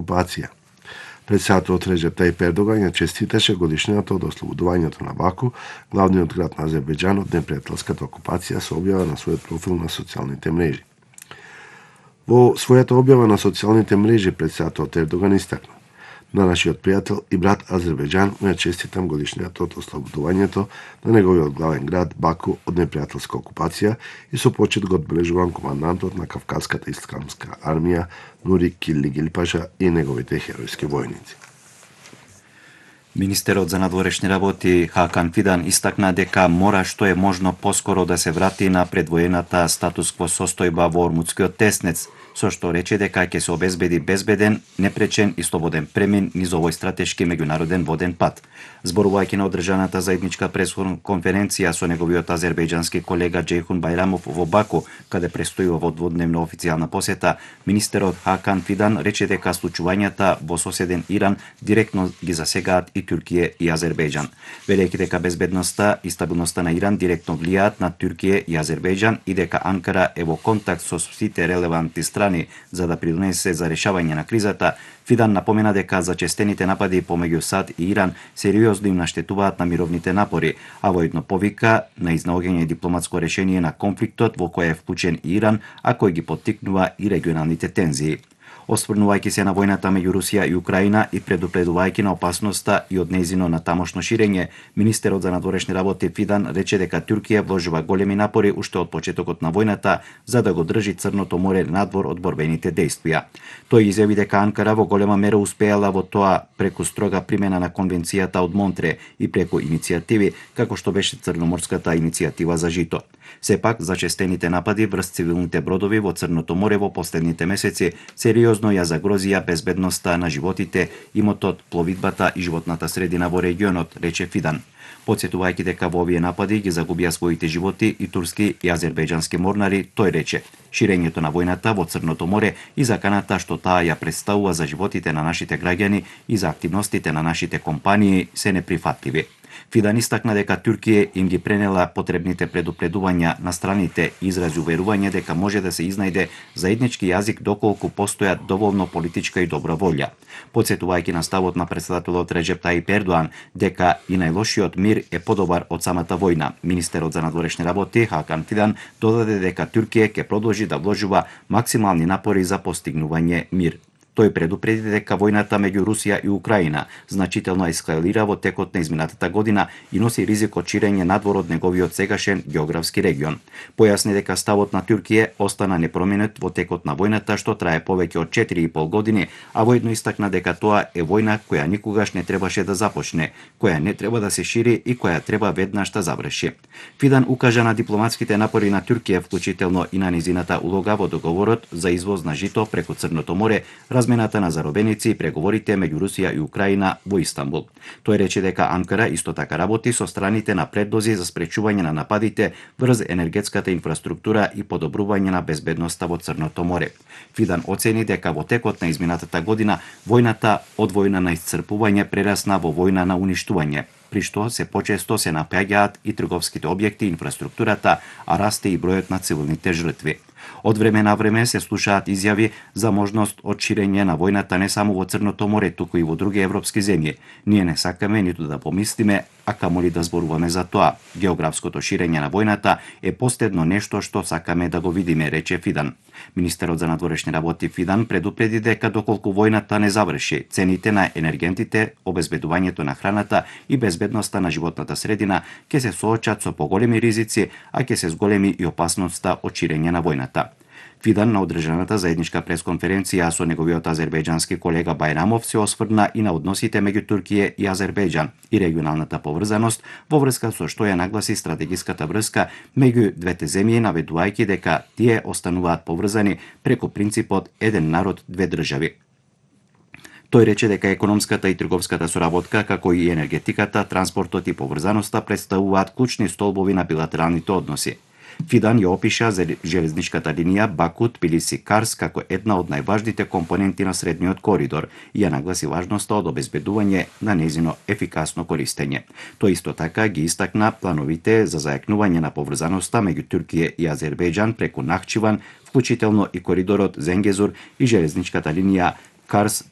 окупација. Председателот Реджеп Тајип Ердоган ја честиташе годишнината од ослободувањето на Баку, главниот град на Азербејџан, од непријателската окупација, со објава на својот профил на социјалните мрежи. Во својата објава на социјалните мрежи председателот Ердоган истакна: на нашиот пријател и брат Азербејџан му ја честитам годишнината од ослободувањето на неговиот главен град Баку од непријателска окупација и со почит го одбележувам командантот на Кавказската исламска армија Нури Килли-Гилпаша и неговите херојски војници. Министерот за надворешни работи Хакан Фидан истакна дека мора што е можно поскоро да се врати на предвоената статус-кво состојба во Ормудскиот теснец, со што рече дека ќе се обезбеди безбеден, непречен и слободен премин низ овој стратешки меѓународен воден пат. Зборувајќи на одржаната заедничка пресконференција со неговиот азербејџански колега Џейхун Бајрамов во Баку, каде престојува во дводневна официјална посета, министерот Хакан Фидан рече дека случувањата во соседен Иран директно ги засегаат и Туркија и Азербејџан. Велејќи дека безбедноста и стабилноста на Иран директно влијаат на Туркија и Азербејџан и дека Анкара е во контакт со сите релевантни страни за да придонесе за решавање на кризата, Фидан напомена дека зачестените напади помеѓу САД и Иран сериозно им наштетуваат на мировните напори, а воедно повика на изнаоѓање дипломатско решение на конфликтот во кој е вклучен и Иран, а кој ги поттикнува и регионалните тензии. Осврнувајќи се на војната меѓу Русија и Украина и предупредувајќи на опасноста и од нејзино натамошно ширење, министерот за надворешни работи Фидан рече дека Туркија вложува големи напори уште од почетокот на војната за да го држи Црното море надвор од борбените дејствија. Тој изјави дека Анкара во голема мера успеала во тоа преку строга примена на конвенцијата од Монтре и преку иницијативи како што беше Црноморската иницијатива за жито. Сепак, зачестените напади врз цивилните бродови во Црното море во последните месеци сериозно ја загрозија безбедноста на животите, имотот, пловидбата и животната средина во регионот, рече Фидан. Потсетувајќи дека во овие напади ги загубија своите животи и турски и азербејџански морнари, тој рече: ширењето на војната во Црното море и заканата што таа ја представува за животите на нашите граѓани и за активностите на нашите компании се неприфатливи. Фидан истакна дека Туркија им ги пренела потребните предупредувања на страните и изрази уверување дека може да се изнајде заеднички јазик доколку постоја доволно политичка и добра волја. Потсетувајќи на ставот на председателот Реджеп Тајип Ердоган дека и најлошиот мир е подобар од самата војна, министерот за надворешни работи Хакан Фидан додаде дека Туркија ќе продолжи да вложува максимални напори за постигнување мир. Тој предупреди дека војната меѓу Русија и Украина значително ескалира во текот на изминатата година и носи ризик од ширење надвор од неговиот сегашен географски регион. Појасни дека ставот на Туркија остана непроменет во текот на војната што трае повеќе од 4,5 години, а воедно истакна дека тоа е војна која никогаш не требаше да започне, која не треба да се шири и која треба веднаш да заврши. Фидан укажа на дипломатските напори на Туркија, вклучително и на низината улога во договорот за извоз на жито преку Црното море, размената на заробеници и преговорите меѓу Русија и Украина во Истанбул. Тој рече дека Анкара исто така работи со страните на предлози за спречување на нападите врз енергетската инфраструктура и подобрување на безбедноста во Црното море. Фидан оцени дека во текот на изминатата година војната од војна на исцрпување прерасна во војна на уништување, при што се почесто се напаѓаат и трговските објекти и инфраструктурата, а расте и бројот на цивилните жртви. Од време на време се слушаат изјави за можност од ширење на војната не само во Црното море, туку и во други европски земји. Ние не сакаме ниту да помислиме, а камоли да зборуваме за тоа. Географското ширење на војната е последно нешто што сакаме да го видиме, рече Фидан. Министерот за надворешни работи Фидан предупреди дека доколку војната не заврши, цените на енергентите, обезбедувањето на храната и безбедноста на животната средина ќе се соочат со поголеми ризици, а ќе се зголеми и опасноста од ширење на војната. Фидан на одржаната заедничка пресконференција со неговиот азербејџански колега Бајрамов се осврна и на односите меѓу Туркија и Азербејџан и регионалната поврзаност во врска со што ја нагласи стратегиската врска меѓу двете земји, наведувајќи дека тие остануваат поврзани преку принципот еден народ, две држави. Тој рече дека економската и трговската соработка, како и енергетиката, транспортот и поврзаноста представуваат клучни столбови на билатералните односи. Фидан ја опиша железничката линија Баку-Тбилиси-Карс како една од најважните компоненти на средниот коридор и ја нагласи важноста од обезбедување на нејзино ефикасно користење. Тој исто така ги истакна плановите за зајакнување на поврзаноста меѓу Туркија и Азербејџан преку Нахчиван, вклучително и коридорот Зенгезур и железничката линија Карс